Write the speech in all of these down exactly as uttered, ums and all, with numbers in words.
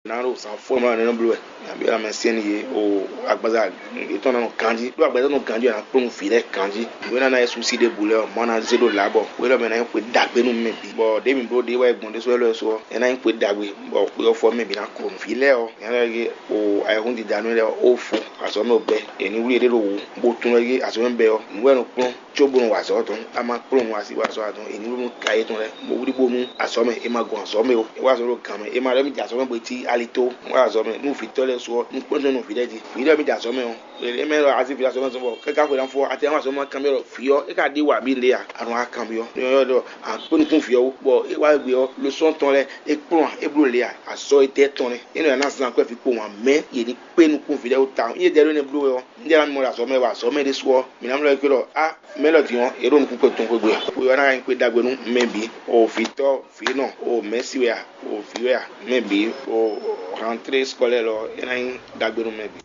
Ná ɖo zǎn fɔ́n mlɔ́ nɛ́ nɔ bló wɛ. Nabí ɔ́ ná mɛ sɛ́n yě o agbaza yětɔn ná nɔ ganjí, ɖó agbaza nɔ ganjí ɔ́, ná kplɔ́n nǔ vǐ lɛ́ɛ ganjí. Nǔ e ná ná yɛ súsí ɖěbǔ lɛ́ɛ ɔ́, Mawu ná zé ɖó lǎbɔ. Xwé lɔ mɛ ná nyí xwe ɖagbe nú mɛ bǐ, bɔ ɖěe mǐ bló ɖě wɛ gbɔn ɖésú wɛ lɔ ɔ́ su ɔ́, é ná nyí xwe ɖagbe, bɔ xwe ɔ́ fɔ mɛ bǐ ná klo nǔ. Vǐ lɛ́ɛ ɔ́, nya lɛ́ɛ e o ayɛhúndida nú lɛ́ɛ ɔ́, ó fo azɔ̌ mɛ bɛ́, è ní wlí yě ɖé ɖo wǔ, bó tunwun wɛ gé azɔ̌ mɛ bɛ́ ɔ́, nǔ wɛ è nɔ kplɔ́n cóbónú wa azɔ̌ tɔn. A ma kplɔ́n nǔ así wa azɔ̌ wa tɔn, è ní ɖó nú ka yětɔn lɛ́ɛ, bó wlí bónú azɔ̌ mɛ, è ma gɔn azɔ̌ mɛ ó. É wá azɔ̌ ɖo gǎn mɛ, è ma ɖɔ mì jɛ azɔ̌ mɛ bó cí alitó. Wá azɔ̌ mɛ nú vǐtɔ́ lɛ́ɛ su ɔ́, nú kpɔ́n nú vǐ lɛ́ɛ jí. Vǐ ɖɔ mì jɛ azɔ̌ mɛ ɔ́, è mɛ ɖɔ azí vǐ azɔ̌ mɛ zɔn bɔ kɛ́kɛ xwe ná fɔ, a tɛ wá azɔ̌ mɛ kanbyɔ́ ɖɔ vǐ ɔ́, é ka ɖi wǎ mì lé a? A nɔ wá kanbyɔ́. Nyɔ̌nyɔ́ ɖɔ a kpé nukún vǐ ɔ́ wú, bɔ é wá gbe ɔ́, lo sɔ́n tɔn lɛ́ɛ é kplɔ́n a, é bló lě a? Azɔ̌ e tɛ́ tɔn nɛ́. É nɔ ná zán akwɛ́ vǐ kpowun ǎ, mɛ̌ yě ní kpé nukún vǐ lɛ́ɛ wú tawun. Nyí é ɖɛ ɖó énɛ́ bló wɛ ɔ́, un ɖe ná mɔ ɖo azɔ̌ mɛ wɛ, azɔ̌ mɛ ɖésú ɔ́, mǐ ná mlɔ́ ɛ gbé ɖɔ á, mɛ élɔ́ din ɔ́, yě ɖo nukún kpɛn tɔn xwé gbe ǎ. Xwe ɔ́ ná nyí xwé ɖagbe nú mɛ bǐ, o vǐtɔ́, vǐnɔ, o mɛ̌si wɛ a, o vǐ wɛ a, mɛ bǐ, o rentrée scolaire lɔ, é ná nyí ɖagbe nú mɛ bǐ.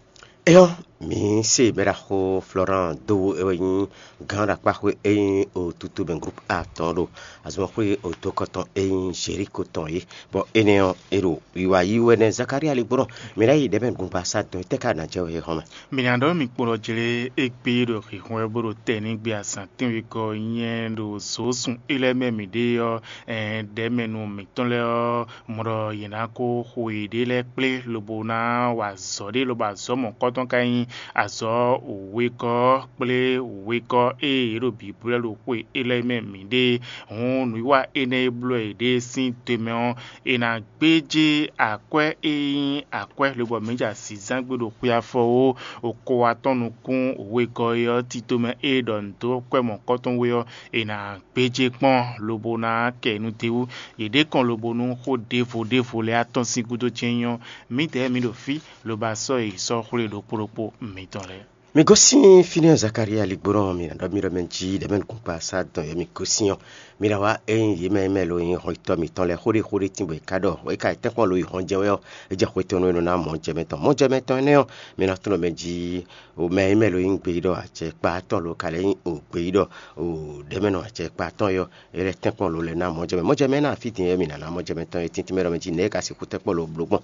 Éyɔ́, mǐ se bɛ́ ɖaxó Florent dó wú é wɛ nyí gǎn ɖo akpáxwé e nyí o tutu mɛ groupe A tɔn ɖo azɔnxwé o dó kɔtɔn e nyí Jericho tɔn é, bɔ énɛ́ ɔ́, é ɖo wiwa yí wɛ nɛ́. Zakaria ligbɔnɔ, mǐ ná yi ɖɛ̌ mɛ gbɔngbasá dɔn, étɛ́ ka ná jɛ wɛ é hɔn mɛ? Mǐ ná ɖɔ mǐ kpo ɖɔ jlé égbé ɖo hǐhɔ́n wɛ bó ɖo tɛ́ ní gbé azǎn tɛ́nwegɔ́ nyɛ ɖo zǒsun é lɛ́ɛ mɛ mǐ ɖe ɔ́, ɛn ɖɛ̌ mɛ nú mǐtɔn lɛ́ɛ ɔ́, mɔ ɖɔ yě ná kó xo yěɖée lɛ́ɛ kplé lobo ná wa azɔ̌ ɖé, lobo azɔ̌ mɔ̌kɔtɔn ka nyí azɔ̌ wěgɔ́ kplé wěgɔ́ e yě ɖo bǐblɛ́ ɖo xwe é lɛ́ɛ mɛ mǐ ɖe. Hǔn nǔwiwa énɛ́ e bló yěɖée sín te mɛ ɔ́, è nǎ gbéjé akwɛ́ e nyí akwɛ́ lobɔ mǐ ja zǐnzán gbe ɖo xwe afɔ ó, okowatɔ́n nukún wegɔ́ e ɔ́, tito mɛ e ɖɔ nǔ dó kwɛ́ mɔ̌kɔtɔn we ɔ́, è nǎ gbéjé kpɔ́n lobo ná kɛ nǔ d'é wú. Yě ɖe kɔn lobo nú xó ɖěvo ɖěvo lɛ́ɛ atɔ́n sín gúdo jɛ́n nyí ɔ́, mǐdɛɛ mǐ ɖo fí lobo asɔ́ e è sɔ́ xwlé ɖokpó ɖokpó mǐtɔn lɛ́ɛ. Mi gosín fínɛ́ Zakaria ligbónɔ, mi ná ɖɔ mì ɖɔ mɛ jí ɖɛ̌ mɛ nukúngbasá dɔn yě mi gosín ɔ́, mi ná wá ényí yě mɛ e mɛ lo nyí hɔnjitɔ́ mǐtɔn lɛ́ɛ xóɖéxóɖé tínbɔ è ká ɖɔ é ka yi tɛ́nkpɔ́n lo yi hɔn jɛ wɛ ɔ́, é jɛ xwe tɔn nú é nɔ ná mɔ̌ jɛ mɛ tɔn. Mɔ̌ jɛ mɛ tɔn énɛ́ ɔ́, mi ná tunɔ mɛ jí mɛ e mɛ lo nyí gbeyíɖɔ acɛkpatɔ́ lo ka lɛ́ nyí o gbeyíɖɔ o ɖɛ̌ mɛ nɔ acɛkpatɔ́ é ɔ́, é lɛ́ tɛ́nkpɔ́n lo lɛ́ ná mɔ̌ jɛ mɛ. Mɔ̌ jɛ mɛ énɛ́ ɔ́, fí din é mi ná ná mɔ̌ jɛ mɛ tɔn é tíntín mɛ ɖɔ mɛ jí nɛ̌ é ka sixú tɛ́nkpɔ́n lo bló gbɔn.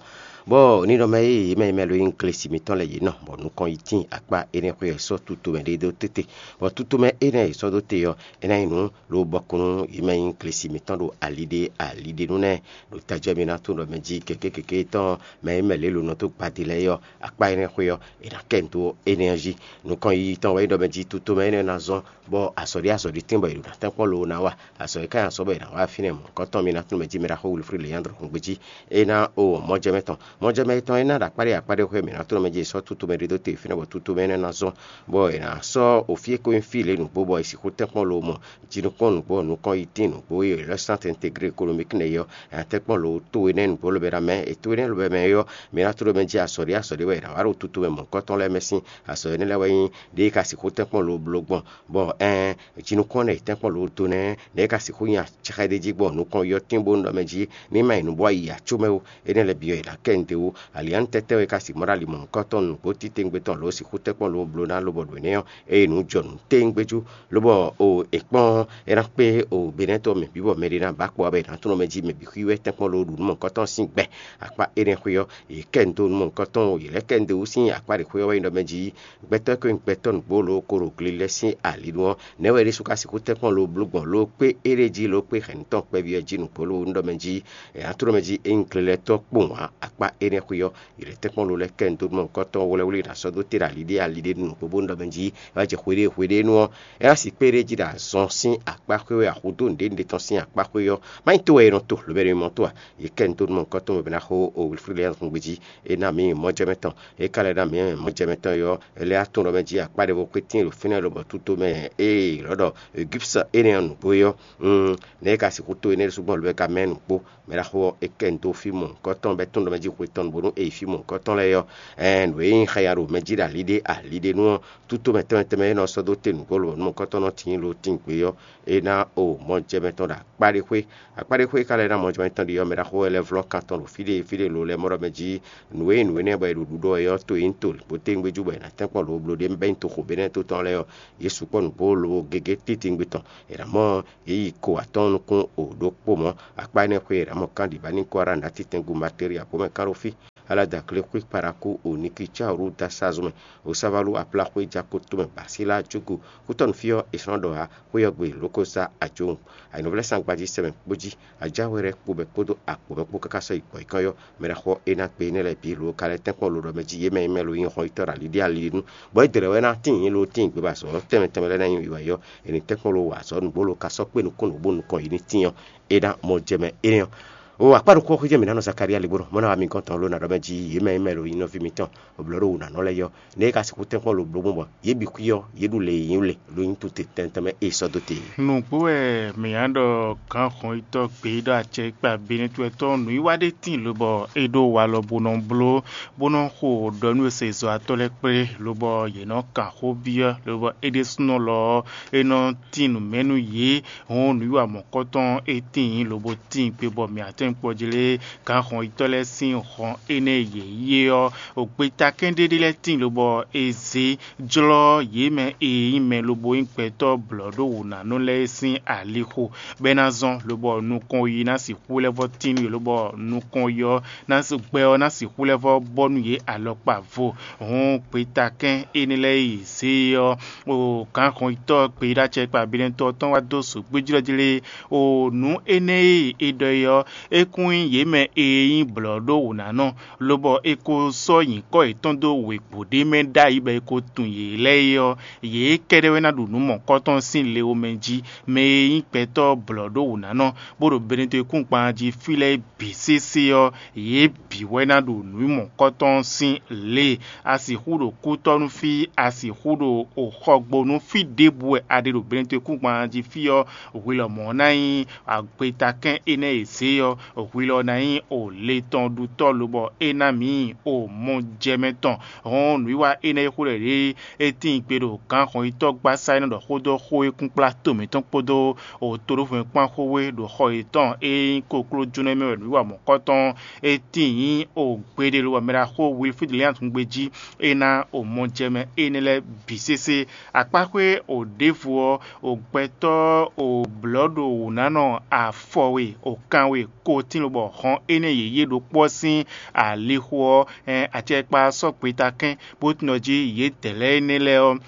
Bɔ ní ɖɔ mɛ e yě mɛ e mɛ lo nyí glesi mǐtɔn lɛ́ɛ yě nɔ, bɔ nukɔn yi tíin akpá énɛ́ xwé ɔ́ sɔ́ tutomɛ ɖé dó tete, bɔ tutomɛ énɛ́ e è sɔ́ dó te ɔ́, é ná nyí nǔ lobɔ kún nú yě mɛ e nyí glesi mǐtɔn ɖo ali ɖé ali ɖé nú nɛ́. Ɖo tajɛ mi ná tunwun ɖɔ mɛ jí gěgé gěgé tɔn mɛ e mɛ lě lo nɔ dó gbadé lɛ́ɛ é ɔ́, akpá énɛ́ xwé ɔ́, è nǎ kɛ nǔ dó énɛ́ ɔ́ jí. Nukɔn yiyi tɔn wɛ nyí ɖɔ mɛ jí tutomɛ énɛ́ ná zɔ́n, bɔ azɔ̌ ɖé azɔ̌ ɖé tɛ́nbɔ è ɖo ná tɛ́nkpɔ́n lo ná wa. Azɔ̌ e ka nyi azɔ̌ bɔ è nǎ wa fínɛ́ mɔ̌hunkɔtɔn mi ná tunwun mɛ jí mɛ ɖaxó Wilfrid Leandre Hungbejí. É ná o mɔjɛmɛ tɔn, mɔjɛmɛ tɔn é ná ɖo akpá ɖé akpá ɖé xwé mǐ ná tunwun mɛ jí è sɔ́ tutomɛ ɖé dó te fínɛ́ bɔ tutomɛ énɛ́ ná zɔ́n, bɔ è nǎ sɔ́ o fí e ko nyí fí lě nǔgbó bɔ è sixú tɛ́nkpɔ́n lo mɔ jinukún nǔgbó nukɔn yi tín nǔgbó e è lɛ́ sán tɛntegré ékonomiki nɛ́ é ɔ́, è nǎ tɛ́nkpɔ́n lo to énɛ́ nǔgbó lobɛ ná mɛ, è to énɛ́ lobɛ mɛ é ɔ́, mǐ ná tunwun mɛ jí azɔ̌ ɖé azɔ̌ ɖé wɛ è nǎ wa ɖo tutomɛ mɔ̌hunkɔtɔn lɛ́ɛ mɛ sín. Azɔ̌ énɛ́ lɛ́ɛ wɛ nyí ɖěe ka sixú tɛ́nkpɔ́n lo bló gbɔn, bɔ ɛɛn jinukún ɔ́ nɛ́ è tɛ́nkpɔ́n lo dó nɛ́, nɛ̌ é ka sixú nyi acɛxɛ ɖé jí gbɔn nukɔn yɔ́tín bó nɔ mɛ jí ní ma nyi nǔ bɔ yi acó mɛ ó. Énɛ́ lɛ́ɛ bǐ ɔ́, è nǎ kɛ nǔɖé wú. Aliǎnutɛ́tɛ́ wɛ é ka sixú mɔ ɖo ali mɔ̌hunkɔtɔn nǔgbó titewungbe tɔn lǒ sixú tɛ́nkpɔ́n lo bló ná lobɔ ɖo énɛ́ ɔ́, ée nǔ jɔ nǔ téwúngbé jú, lobɔ o è kpɔ́n é ná kpé o benɛ́tɔ́ mɛ bǐ bɔ mɛ ɖé ná ba kpɔ wá bɔ è nǎ tunwun mɛ jí mɛ bǐ xwí wɛ tɛ́nkpɔ́n lo ɖu nǔ mɔ̌hunkɔtɔn sín gbɛ. Akpá énɛ́ xwé ɔ́, yě kɛ nǔ dó nǔ mɔ̌hunkɔtɔn, yě lɛ́ kɛ nǔ dó wú sín akpá ɖě xwé ɔ́ wɛ nyí ɖɔ mɛ jí gbɛtɔ́ e ko nyí gbɛtɔ́ nǔgbó lo ko ɖo gle lɛ́ɛ sín ali nu ɔ́, nɛ̌ wɛ é ɖésú ka sixú tɛ́nkpɔ́n lo bló gbɔn lo kpé éɖée jí lo kpé hɛ̌nnu tɔn kpɛví ɔ́ jí nǔgbó lo nú ɖɔ mɛ jí è nǎ tunwun mɛ jí é nyí gle lɛ́ɛ tɔ́ kpowun ǎ. Akpá énɛ́ xwé ɔ́, yě lɛ́ tɛ́nkpɔ́n lo lɛ́ kɛ nǔ dó nú mɔ̌hunkɔtɔn wlɛ́wlí ná sɔ́ dó te ɖo ali ɖé ali ɖé nú nǔgbó bónú ɖɔ mɛ jí é wá jɛ xwe ɖé xwe ɖé nu ɔ́, é ná si kpé ɖé jí ɖo azɔn sín akpá xwé wɛ axudó nǔɖé nǔɖé tɔn sín akpá xwé ɔ́, má nyí to wɛ è nɔ to lǒbɛ́ ɖo mɔ tó a? Yě kɛ nǔ dó nú mɔ̌hunkɔtɔn bɔ è ná xo o Wilfrid lɛ́ɛ nɔ́ gbé jí. É ná mǐ mɔjɛmɛ tɔn. É ka lɛ́ ná mǐ mɔjɛmɛ tɔn é ɔ́, é lɛ́ wá tunwun ɖɔ mɛ jí akpá ɖěvo kpé tíin ɖo fínɛ́ lobɔ tutomɛ ée lɔ̌ ɖɔ Egipsa énɛ́ ɔ́ nǔgbó é ɔ́, nɛ̌ é ka sixú to énɛ́ ɖésú gbɔn lobo é ka mɛ nǔgbó? Mɛ ɖaxó ɔ́, é kɛ nǔ dó fí mɔ̌hunkɔtɔn bɔ é tunwun ɖɔ mɛ jí xwe tɔn bónú é yi fí mɔ̌hunkɔtɔn lɛ́ɛ ɔ́, ɛɛn nǔ e nyí xaya ɖo mɛ jí ɖo ali ɖé ali ɖiɖe nú ɔ́, tútomɛ tɛnmɛ tɛnmɛ e nɔ sɔ́ dó te nǔgbó lǒ nú nukɔntɔn nɔ tíin lo tíin gbé ɔ́, é ná o mɔjɛmɛ tɔn ɖo akpá ɖé xwé. Akpá ɖé xwé ka lɛ́ ná mɔjɛmɛ tɔn ɖi ɔ́, mɛ ɖaxó wɛ lɛ́ vlɔ́ kan tɔn ɖo fí ɖé fí ɖé lo lɛ́ɛ mɔ ɖɔ mɛ jí nǔ e nyí nǔ énɛ́ bɔ è ɖo ɖuɖɔ wɛ ɔ́, to e nyí to bó téwúngbéjú bɔ è nǎ tɛ́nkpɔ́n lǒ bló ɖ'é mɛ bɔ é nyí toxo Benɛ́ɛ to tɔn lɛ́ɛ ɔ́, yě sukpɔ́ nǔgbó lobo gěgé titewungbe tɔn. È nǎ mɔ yě yi ko atɔ́ɔ́n nukún o ɖokpó mɔ̌. Akpá énɛ́ xwé è nǎ mɔ kán ɖi bá ní kó ará nǎ titɛngu Matéri abǒ mɛ kán ɖo fí. Alada glexwé kpaɖakú o Nikicáwlu dó asazun mɛ, o Sávalu aplaxwé ja ko tomɛ Basíla jógo. Kútɔ́nú fí ɔ́, è sɔ́ nɔ ɖɔ ǎ, xwé ɔ́ gbe lǒ ko sá ajowun. Ayǐnɔvlɛ́sán gbají sɛmɛ kpó jí, ajáwe lɛ́ɛ kpo bɛ́ kpódó akpǒ mɛ kpó káká sɔ́ yi gbɔ̌ yi kɔ́n ɔ́, mɛ ɖaxó ɔ́, é ná gbe énɛ́ lɛ́ɛ bǐ lo ka lɛ́ tɛ́nkpɔ́n lo ɖɔ mɛ jí yě mɛ nyí mɛ lo nyí hɔnnyitɔ́ ɖo ali ɖé ali ɖé nu, bɔ é dlɛ̌ wɛ ná tíin lo tíin gbé ba azɔ̌ tɛnmɛ tɛnmɛ lɛ́ɛ ná nyi wiwa yi ɔ́, è nǐ tɛ́nkpɔ́n lo wa azɔ̌ nǔgbó lo ka sɔ́ kpé nukún nǔ bó nukɔn yi ní tíin ɔ́, é ná mɔ jɛ mɛ énɛ́ ɔ́. O akpá ɖokpó xwé jɛ mǐ ná nɔ Zakalía ligbónɔ, mɔ ná wa mi gɔ́n tɔn ló ná ɖɔ mɛ jí yě mɛ nyí mɛ lo nyí nɔví mitɔn, bɔ blɔ̌ ɖo wǔ ná nɔ lɛ́ɛ yi ɔ́, nɛ̌ é ka sixú tɛ́nkpɔ́n lo bló gbɔn bɔ yě bǐ xwí ɔ́, yě ɖu lě e nyí wú lě, lo nyí tute tɛnmɛ tɛnmɛ e è sɔ́ dó te é? Nǔgbó wɛ mǐ ná ɖɔ gǎnhɔn yitɔ́ gbeyíɖɔ acɛkpa Benɛ́tɔ́ nǔwiwa ɖé tíin lobɔ é ɖó walɔ bó nɔ bló, bó nɔ xo ɖɔ nú e se zɔ̌watɔ́ lɛ́ɛ kplé, lobɔ yě nɔ kan xó byɔ́, lobɔ é ɖésúnɔ lɔ ɔ́, é nɔ tín nǔ mɛ nú yě. Hɔn nǔwiwa mɔ̌kɔtɔn e tíin lobo tíin gbe bɔ mǐ atɛ́nkpɔ́ jí lé gǎnhɔn yitɔ́ lɛ́ɛ sín hɔn énɛ́ e yě yí é ɔ́, gbeta kɛ́n ɖé ɖé lɛ́ɛ tíin lobɔ è zě jlɔ́ yě mɛ e nyí mɛ lobo nyí gbɛtɔ́ blɔ̌ɖówǔnánɔ lɛ́ɛ sín alixo, bɔ é ná zɔ́n, lobɔ nukɔn yi ná sixú lɛ́ vɔ́ tín nú yě, lobɔ nukɔn yi ɔ́ ná gbɛ ɔ́ ná sixú lɛ́ vɔ́ bɔ nú yě alɔkpa vo. Hɔn gbeta kɛ́n énɛ́ lɛ́ɛ e yě zě é ɔ́, o gǎnhɔnyitɔ́ gbeyíɖácɛkpa Benɛtɔ́ tɔn wá dó zǒgbéjlɔ́ jí lé, o nǔ énɛ́ e è ɖɔ é ɔ́, é kún nyí yě mɛ e nyí blɔ̌ɖówǔnánɔ, lobɔ è ko sɔ́ nyǐkɔ yětɔn dó wěgbó ɖé mɛ ɖ'ayǐ bɔ è ko tunwun yě lɛ́ɛ é ɔ́, yě kɛ́ɖɛ́ wɛ ná ɖu nǔ mɔ̌kɔtɔn sín le omɛ jí. Mɛ e nyí gbɛtɔ́ blɔ̌ɖówǔnánɔ, bó ɖo Benɛtɔ́ kúngban jí fí lɛ́ɛ bǐ sésé ɔ́, yě bǐ wɛ ná ɖo nǔ mɔ̌kɔtɔn sín lě. A sixú ɖo kútɔ́ nú fí, a sixú ɖo xɔgbo nú fí ɖěbǔ wɛ a ɖe ɖo Benɛtɔ́ kúngban jí fí ɔ́, hwi lɔmɔ̌ ná nyí agbetakɛ́n énɛ́ e zě ɔ́, hwi lɔ ná nyí o le tɔn ɖutɔ́ lobɔ é ná mǐ o mɔ jɛ mɛ tɔn. Hɔn nǔwiwa énɛ́ e xo ɖɔ ɖě é tíin gbe ɖo gǎn hɔnyitɔ́ gbasá e nɔ ɖɔ xó dó xó e kún kplá to mǐtɔn kpódó o toɖófɛn kpán xó wé ɖo xɔ yětɔn e nyí koklójónɔ mɛ wɛ nǔwiwa mɔ̌kɔtɔn é tíin nyí o gbeɖé lobɔ mɛ ɖaxó Wilfríd Lian tungbe jí é ná o mɔ jɛ mɛ énɛ́ lɛ́ɛ bǐ sésé. Akpáxwé o ɖěvo ɔ́, o gbɛtɔ́ o blɔ̌ ɖo wǔnánɔ afɔ we, o kan we, ko tín lobɔ hɔn énɛ́ yěyé ɖokpó ɔ́ sín alixo ɔ́, ɛn acɛkpa ɔ́ sɔ́ gbeta kɛ́n, bó tunwun ɖɔ jí yědɛɛ lɛ́ɛ énɛ́ lɛ́ɛ ɔ́,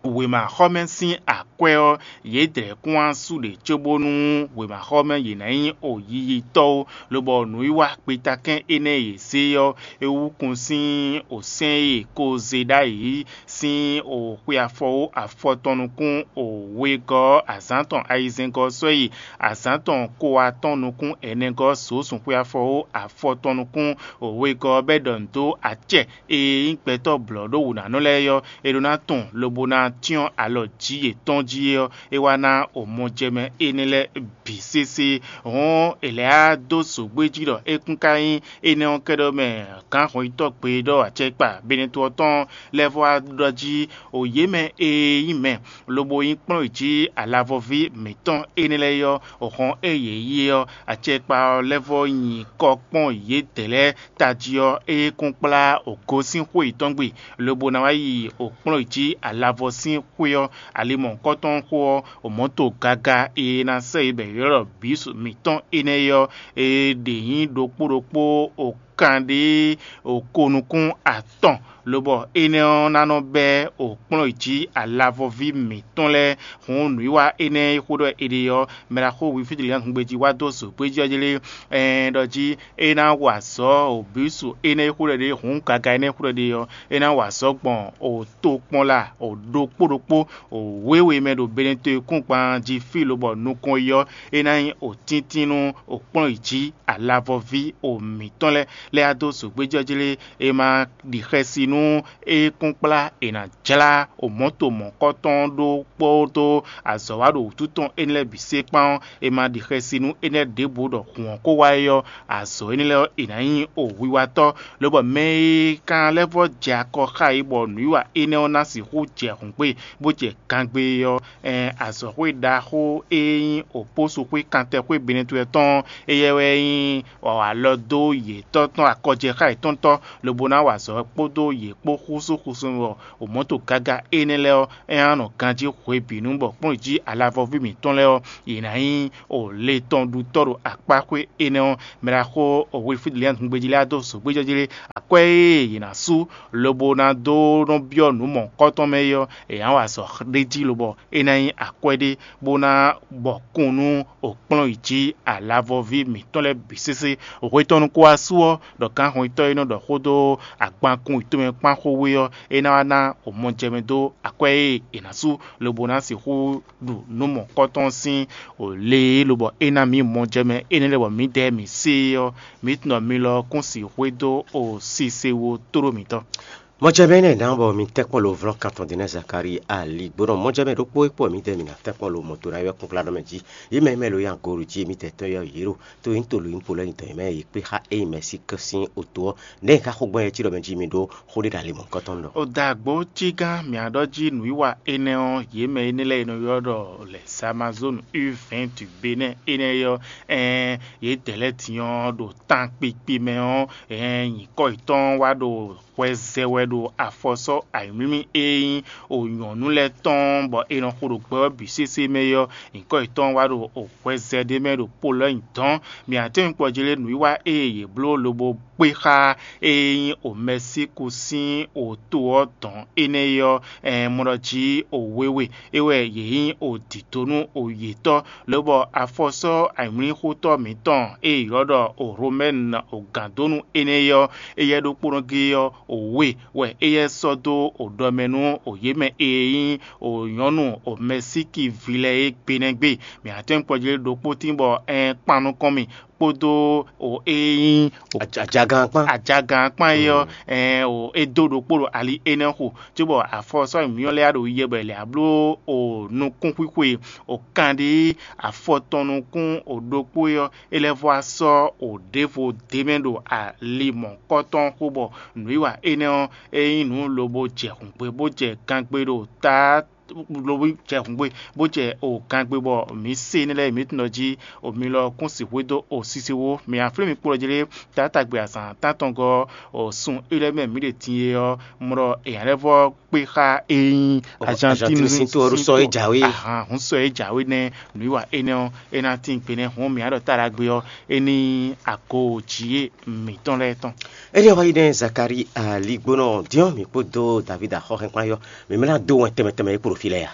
wěmaxɔmɛ sín akwɛ́ ɔ́, yědɛɛ kún wá sú ɖě cóbónú wěmaxɔmɛ yě ná nyí o yiyitɔ́ ó, lobɔ nǔwiwa kpetakɛ́n énɛ́ e yě zé ɔ́, é wú kun sín o sɛ́n e è ko zé ɖ'ayǐ sín o xwe afɔwó afɔtɔn nukún o wegɔ́ ɔ́, azǎn tɔn ayizɛ́ngɔ́ ɔ́ sɔ́ yi azǎn tɔn ko atɔn nukún ɛnɛgɔ́ ɔ́, zǒzun xwe afɔwó afɔtɔn nukún o wegɔ́ ɔ́, bɔ é ɖɔ nǔ dó acɛ e nyí gbɛtɔ́ blɔ̌ɖówǔnánɔ lɛ́ɛ é ɔ́, è ɖó ná tɔn lobo ná cyɔ́n alɔ jǐ yětɔn jí é ɔ́, é wá ná o mɔjɛmɛ énɛ́ lɛ́ɛ bǐ sésé. Hɔn è lɛ̌ á dó zǒgbé jí ɖɔ é kún ka nyí énɛ́ ɔ́ kɛ́ɖɛ́ mɛ gǎn hɔnyitɔ́ gbe ɖɔ acɛkpa Benɛtɔ́ tɔn lɛ́ɛ vɔ wá ɖɔ jí o yě mɛ e nyí mɛ lobo nyí kplɔ́n yě jí alavɔví mǐtɔn énɛ́ lɛ́ɛ ɔ́, hɔn e yě yí é ɔ́, acɛkpa ɔ́ lɛ́ vɔ nyi kɔ kpɔ́n yědɛɛ lɛ́ɛ tají ɔ́, é kún kplá o gosín xwé yětɔn gbe, lobo ná wá yi o kplɔ́n yě jí alavɔ sín xwé ɔ́, ali mɔ̌hunkɔtɔn xó ɔ́, o mɔ̌to gaga e è nǎ sɛ́ yě bɔ è ylɔ́ ɖɔ bǐsu mǐtɔn énɛ́ é ɔ́, è ɖě nyí ɖokpó ɖokpó o kanɖé o ko nukún atɔn, lobɔ énɛ́ ɔ́ ná nɔ bɛ́ o kplɔ́n yě jí alavɔví mǐtɔn lɛ́ɛ. Hǔn nǔwiwa énɛ́ e xó ɖɔ è ɖe ɔ́, mɛ ɖaxó Wilfríd Lian hungbe jí wá dó zǒgbéjɔ́ jí lé, ɛɛ ɖɔ jí é ná wa azɔ̌ o bǐsu énɛ́ e xó ɖɔ è ɖe, hǔn gaga énɛ́ e xó ɖɔ è ɖe ɔ́, é ná wa azɔ̌ gbɔn o tokpɔnla o ɖokpó ɖokpó o wěwe mɛ ɖo Benɛtɔ́ kúngban jí fí lobɔ nukɔn yi ɔ́, é ná nyí o tíntín nú o kplɔ́n yě jí alavɔví o mǐtɔn lɛ́ɛ. lɛ́ɛ dó zǒgbéjɔ́jlé, è ma ɖi xɛsi nú é kún kplá è nǎ jlá omɔ̌to mɔ̌kɔtɔn ɖó kpódó azɔ̌ wa ɖo wǔtu tɔn énɛ́ lɛ́ɛ bǐ sé kpán ɔ́, è ma ɖi xɛsi nú énɛ́ ɖěbǔ ɖɔ hǔn ɔ́ ko wá é ɔ́, azɔ̌ énɛ́ lɛ́ɛ ɔ́, è nǎ nyí o wiwatɔ́, lobɔ mɛ e kan lɛ́ vɔ́ jɛ akɔ xá yě bɔ nǔwiwa énɛ́ ɔ́ ná sixú jɛ hǔngbe, bó jɛ gangbe ɔ́, ɛn azɔ̌xwé ɖaxó e nyí òpósuxwé kantɛxwé Benɛtwɛ tɔn ɔ́, éyɛ́ wɛ nyí alɔ dó yětɔn tɔn akɔjɛxá yětɔntɔ́, lobo ná wa azɔ̌ kpódó yě kpó xúsúxúsú wɔ omɔ̌to gaga énɛ́ lɛ́ɛ ɔ́, é ná nɔ ganjí hwebǐnu bɔ kplɔ́n jí alavɔví mǐtɔn lɛ́ɛ ɔ́, yě ná nyí o le tɔn ɖutɔ́ ɖo akpáxwé énɛ́ ɔ́. Mɛ ɖaxó Wilfrid Lian hungbejí lɛ́ɛ dó zǒgbéjɔ́jlé akwɛ́ e yě ná sú lobo ná dó nɔ byɔ́ nǔ mɔ̌hunkɔtɔn mɛ é ɔ́, è nǎ wa azɔ̌ ɖé jí lobɔ é ná nyí akwɛ́ ɖé bó ná bɔ kún nú òkplɔ́n yi jí alavɔví mǐtɔn lɛ́ɛ bǐ sésé. Hwe tɔn nukún wá sú ɔ́, ɖɔ gǎnhwɛntɔ́ e nɔ ɖɔ xó dó agbankún yi tomɛ kpán xó wé ɔ́, é ná wá ná mɔjɛmɛ dó akwɛ́ e è nǎ sú lobo ná sixú ɖu nǔ mɔ̌hunkɔtɔn sín o le e lobɔ é ná mǐ mɔjɛmɛ énɛ́ lɛ́ɛ bɔ mǐdɛɛ mǐ se é ɔ́, mǐ tunɔ mi lɔ kún sixwé dó o sise wo tóɖó mǐtɔn. Mɔjɛmɛ énɛ́ ná bɔ mi tɛ́ kpɔ́n lo vlɔ́ kan tɔn din nɛ́ Zakalíi ali gbónɔ mɔjɛmɛ ɖokpó e kpɔ́ mǐdɛɛ mǐ ná tɛ́ kpɔ́n lo mɔto ná ywɛ́ kúnklánɔ mɛ jí. Yě mɛ e mɛ lo nyi agooɖu jí émítɛ́ tɔn ɔ́ yě ɖo, to nyí to lo nyí po lɛ́ɛ nyi dɔ̌n yě mɛ e yě kpé xá ényí mɛ sí kɛ́n sín oto ɔ́, nɛ̌ è ka xo gbɔn yɛ cí ɖɔ mɛ jí mi ɖó xó ɖé ɖo ali mɔ̌hunkɔtɔn ɖɔ? O dagbo cí gán mǐ á ɖɔ jí nǔwiwa énɛ́ ɔ́, yě mɛ énɛ́ lɛ́ɛ e nɔ ylɔ́ ɖɔ lɛ̌ Amazonu U vɛ̌nti Benɛ́ énɛ́ ɔ́, ɛɛn yědɛɛ lɛ́ɛ din ɔ́ ɖo tankpikpi mɛ ɔ́, ɛɛn nyǐkɔ yětɔn wá ɖo hwɛ zɛ wɛ ɖo afɔsɔ́ ayǐmlímlí e nyí o nyɔ̌nu lɛ́ɛ tɔn bɔ è nɔ xo ɖo gbɛ ɔ́ bǐ sésé mɛ é ɔ́, nyǐkɔ yětɔn wá ɖo hwɛ zɛ ɖé mɛ ɖo Polɔ́nyɛ dɔ̌n. Mǐ ná tɛ́n kpɔjlé nǔwiwa e yě bló lobo kpé xá e nyí o Mɛsíku sín o to ɔ́ dɔ̌n énɛ́ é ɔ́, ɛɛn mɔ ɖɔ jí o wewe é wɛ yě nyí o dǐdó nú o yětɔ́, lobɔ afɔsɔ́ ayǐmlíxotɔ́ mǐtɔn e è ylɔ́ ɖɔ o Hlomɛ́nu o gǎndónú énɛ́ é ɔ́, éyɛ́ ɖokpónɔ géé ɔ́, o we wɛ éyɛ́ sɔ́ dó o ɖɔ mɛ nú o yě mɛ e nyí o nyɔ̌nu o Mɛsíki ví lɛ́ɛ é gbe nɛ́ gbe. Mǐ ná tɛ́n kpɔjlé ɖokpó tín bɔ ɛɛn kpan nukɔn mì kpódó o e nyí o Ajagan kpán. Ajagan kpán é ɔ́, ɛɛn o é dó ɖokpó ɖo ali énɛ́ xo, cóbɔ afɔsɔ́ mǐyɔ́ lɛ́ɛ ɖo yiyɛ bɔ è lɛ abló o nukúnxwíxwe o kanɖí afɔ tɔn nukún o ɖokpó é ɔ́, é lɛ́ vɔ́ wá sɔ́ o ɖěvo d'é mɛ ɖo ali mɔ̌hunkɔtɔn xo bɔ nǔwiwa énɛ́ ɔ́, é nyí nǔ lobo jɛ hǔngbe bó jɛ gangbe ɖo ta lobo jɛ hǔngbe bó jɛ o gangbe bɔ mǐ se énɛ́ lɛ́ɛ mǐ tunɔ jí o mi lɔ kún sixwé dó o sisiwó. Mǐ aflín mi kplɔ́ jlé taátagbe azǎn tántɔngɔ́ o sun é lɛ́ɛ mɛ mǐ ɖe din e ɔ́, mlɔ èyǎ lɛ́ɛ vɔ́ kpé xá e nyí Azantín sín to ɔ́ ɖó sɔ́ é jǎwe. Ahan, hún sɔ́ é jǎwe nɛ́ nǔwiwa énɛ́ ɔ́, é ná tín gbe nɛ́ hǔn mǐ á ɖɔ tá ɖagbe ɔ́, é ní ago jǐ mǐtɔn lɛ́ɛ tɔn. Énɛ́ wá yi nɛ́ Zakalíi aligbónɔ diɔ́n mǐ kpódó Davídi axɔ́hɛn kpán yɔ́, mǐ mlá dó wɛn tɛnmɛ tɛnmɛ é kpo ɖo fí lɛ́ɛ a?